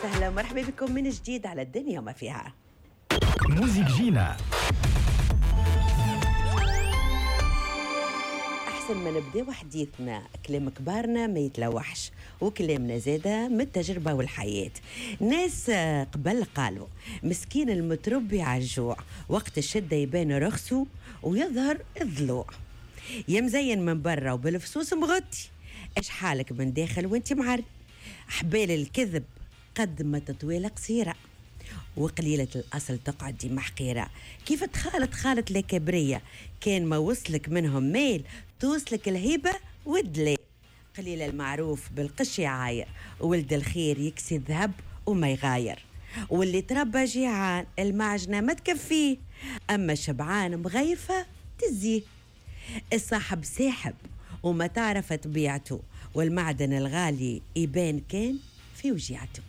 وسهلا ومرحبا بكم من جديد على الدنيا وما فيها. موزيك جينا. أحسن ما نبداو حديثنا، كلام كبارنا ما يتلوحش وكلامنا زادة من التجربة والحياة. ناس قبل قالوا مسكين المتربي على الجوع، وقت الشدة يبان رخصه ويظهر الضلوع. يا مزين من برا وبالفصوص مغطي، اش حالك من داخل وانت معري. حبال الكذب قد ما تطويلة قصيرة، وقليلة الأصل تقعد ديما حقيرة. كيف تخالط خالط الكبرية، كان ما وصلك منهم ميل توصلك الهيبة والدلال. قليل المعروف بالقش يعاير، ولد الخير يكسي الذهب وما يغاير. واللي تربى جيعان المعجنة ما تكفيه، أما شبعان مغيفة تزيه. الصاحب ساحب وما تعرف طبيعته، والمعدن الغالي يبان كان في وجيعته.